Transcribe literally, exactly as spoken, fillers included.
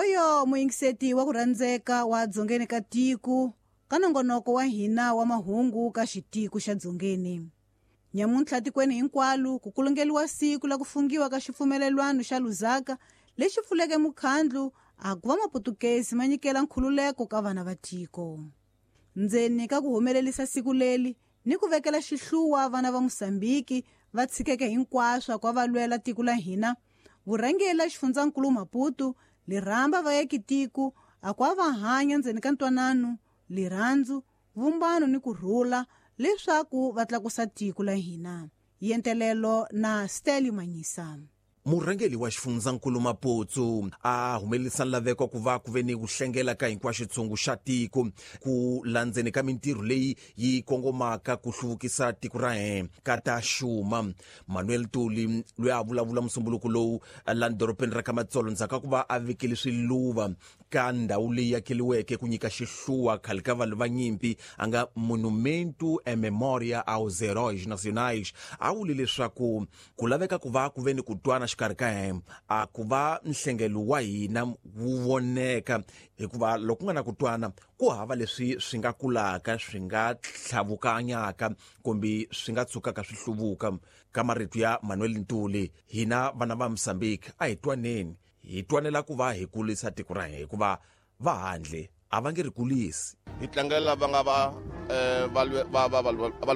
Hoyo muyingiseti wa ku rhandzeka wa Dzongeni ka tiko ka nongonoko wa hina wa mahungu ka xitiko xa Dzongeni. Nyamuntlha tikweni hinkwalo ku kulungeliwa siku la ku fungiwa ka xipfumelelwano xa Lusaka lexi pfuleke mukhandlu a ku va maputukezi ma nyikela nkhululeko ka vana va tiko. Ndzeni ka ku humelelisa siku leli ni ku vekela xihluwa vana va Mosambiki va tshikeke hinkwaswo kwa va lwela tiko la hina, vurhangeri la xifundzankulu Maputo lirhamba va yeki tiko a kwa va hanya ndzeni ka ntwanano, lirhandzu, vumbano ni kurhula leswaku va tlakusa tiko la hina. Yentelelo na Steli Manyisa. Murhangeri wa xifundzankulu Maputo a humelerisa laveko ku va ku ve ni ku hlengela ka hinkwaxo xitshungu xa tiko ku landzeni ka mintirho leyi yi kongomaka ku hluvukisa tiko ra hina ka ta xuma. Manuel Tuli loyi a vulavula musumbuluko lowu la dorobeni ra ka Matsolo ndzhaku ka ku va a vekele swiluva ka ndhawu leyi akeriweke ku nyika xihluwa khale ka vanhu va nyimpi a nga Monumento e Memória aos Heróis Nacionais, a vule leswaku ku laveka ku va ku ve ni ku twana xikarhi ka hina a ku va nhlengelo wa hina wu voneka, hikuva loko ku nga na ku twana ku hava leswi swi nga kulaka swi nga tlhavukanyaka kumbe swi nga tshukaka swi hluvuka. Ka marito ya Manuel Ntuli, hina vana va Mozambique a hi twaneni, hi twanela ku va hi kulisa tiko ra hina, hikuva va handle a va nge ri kulisi. Hi tlangela lava nga va va va va